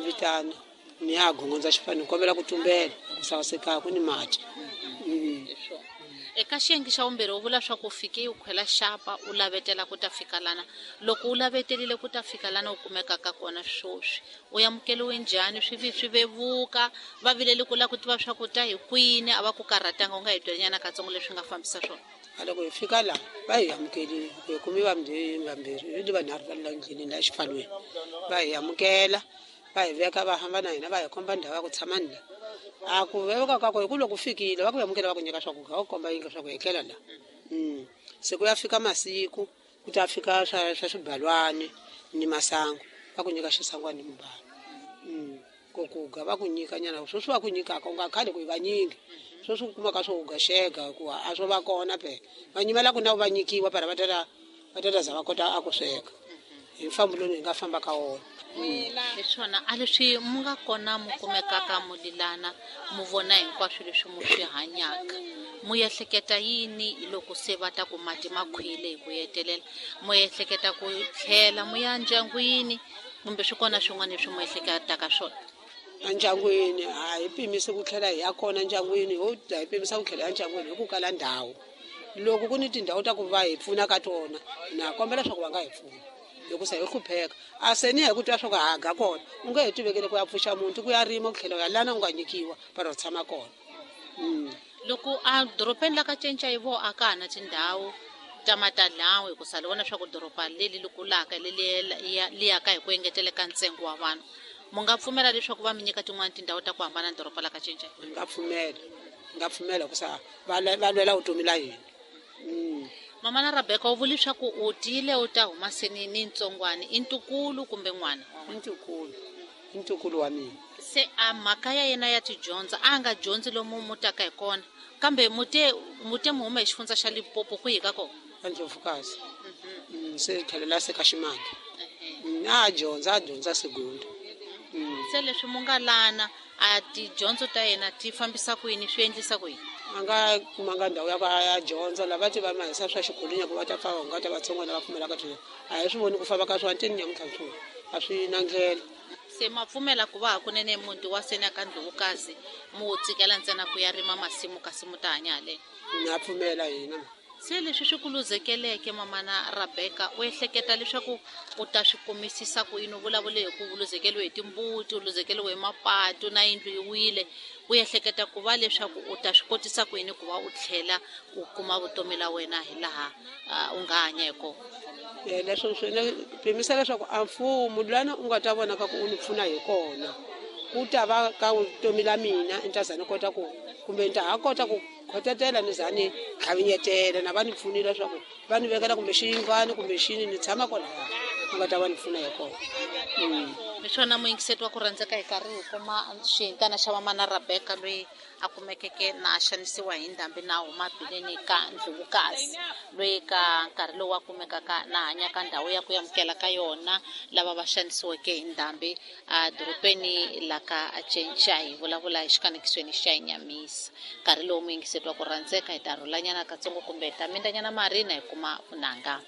vitana ni ya gongondza xifani ni kombela ku tumbela ku sasekaya ku ni mati. Eka xiyenge xa vumbirhi u vula swa ku fike u khwela xapa u lavetela ku ta fika lana. Loko u lavetelile ku ta fika lana u kumekaka kona swoswi, u amukeliwe njhani? Swi swi vevuka va vileli ku lava ku tiva swa ku ta hi kwini, a va ku karhatanga? U nga hi byelanyana katsongo leswi nga fambisa swona. A loko hi fika laha va hi amukelile, hi kumi vambirhi vambirhi ni vanharhu va la ndleleni la xifalweni, va hi amukela, va hi veka, va hamba na hina, va hi komba ndhawu ya ku tshama ni la. A ku vevuka ka ku hi ku loko fikile va ku amukela, va ku nyika swakudya, va ku komba yindlu swa ku etlela la. Se ku ya fika masiku ku ta fika swa swibalwani ni masangu, va ku nyika xisangwani ni mubalo. Ku kuga va ku nyika nyana sweswi va ku nyikaka u nga khali ku hi vanyingi, sweswi u kumaka swo uga xega hikuva a swo va kona phela va nyimela ku na va nyikiwa para va ta za va kota a ku sweka hi mfambo lowu hi nga famba ka wona. Hi swona a leswi mu nga kona mu kumekaka mu lilana, mu vona hinkwaswo leswi mu swi hanyaka, mu ehleketa yini hi loko se va ta ku mati ma khwile hi ku hetelela? Mu ehleketa ku tlhela mu ya ndyangwini kumbe swi kona swin'wana leswi mu ehleketaka swona? Endyangwini a hi pimisi ku tlhela hi ya kona ndyangwini, ho hi pimisa ku tlhela ya ndyangwini hi ku kala ndhawu. Loko ku ni tindhawu ta ku va hi pfuna ka tona, na kombela leswaku va nga hi pfuna hikusa hi hlupheka. A se ni ya hi ku twa swa ku haga kona, u nge he tivekele ku ya pfuxa muti, ku ya rima, ku tlhela u ya lana u nga nyikiwa para u tshama kona. Loko a dorobeni la ka cinca hi vo a ka ha na tindhawu ta matalawu, hikusa li vona swa ku doroba leli li kulaka leli li yaka hi ku engeteleka ntsengo wa vanhu, mu nga pfumela leswaku va mi nyika tin'wani tindhawu ta ku hambana na doroba la ka cinca? Hi nga pfumela, hi nga pfumela hikusa va lwela vutomi la hina. Mama na Rebecca, u vule leswaku u tile u ta huma seni ni ntsongwana, i ntukulu kumbe n'wana? I ntukulu, i ntukulu wa mina. Se a mhaka ya yena ya tidyondzo a nga dyondzi lomu mu taka hi kona, kambe mute mu huma hi xifundza xa Limpopo kwihi ka kona? Ndlovukazi. Se tlhelela se ka Ximange. A dyondza, a dyondza segunda. Se leswi mu nga lana a tidyondzo ta yena ti fambisa ku yini, swi endlisa ku yini? A nga kumanga ndhawu ya ku a ya dyondza, lava ti va mahisa swa xikolweni ku va ta pfa nga ta vatsongwana va pfumelaka swona. A hi swi voni ku famba ka swona tini nyamuntlha swona a swi na ndlela. Se ma pfumela ku va hakunene muti wa seni ka Ndlovukazi mu wu tsikela ntsena ku ya rima masimu kasi mu ta hanya haleni? Na pfumela hina. Se leswi swi ku luzekeleke mamana Rebecca, u ehleketa leswaku u ta swi kumisisa ku yini? U vulavule hi ku luzekeliwe hi timbuti, u luzekeliwe hi mapatu na yindlu yi wile. U ehleketa ku va leswaku u ta swi kotisa ku yini ku va u tlhela u kuma vutomi la wena hi laha u nga hanya hi kona? Leswo swi ni pimisa leswaku a mfumo lana u nga ta vona ka ku u ni pfuna hi kona, ku ta va ka vutomi la mina ni ta za ni kota ku kumbe ni ta ha kota ku khotetela ni za ni tlhavinyetela na va ni pfunile leswaku va ni vekela kumbe xiyindlwani kumbe xini ni tshama kwalaya u nga ta va ni pfuna hi kona. Hi swona muyingiseti wa ku rhandzeka, hi karhi hi kuma xihintana xa mamana Rebecca loyi a kumekeke na a xanisiwa hi ndhambi na huma bileni ka Ndlovukazi, loyi ka nkarhi lowu a kumekaka na hanya ka ndhawu ya ku amukela ka yona lava va xanisiweke hi ndhambi a dorobeni la ka Cinca. Hi vulavula hi xikanekisweni xa Nyamisa. Nkarhi lowu muyingiseti wa ku rhandzeka, hi ta rhulanyana katsongo kumbe hi ta mindanyana marina hi kuma vunanga.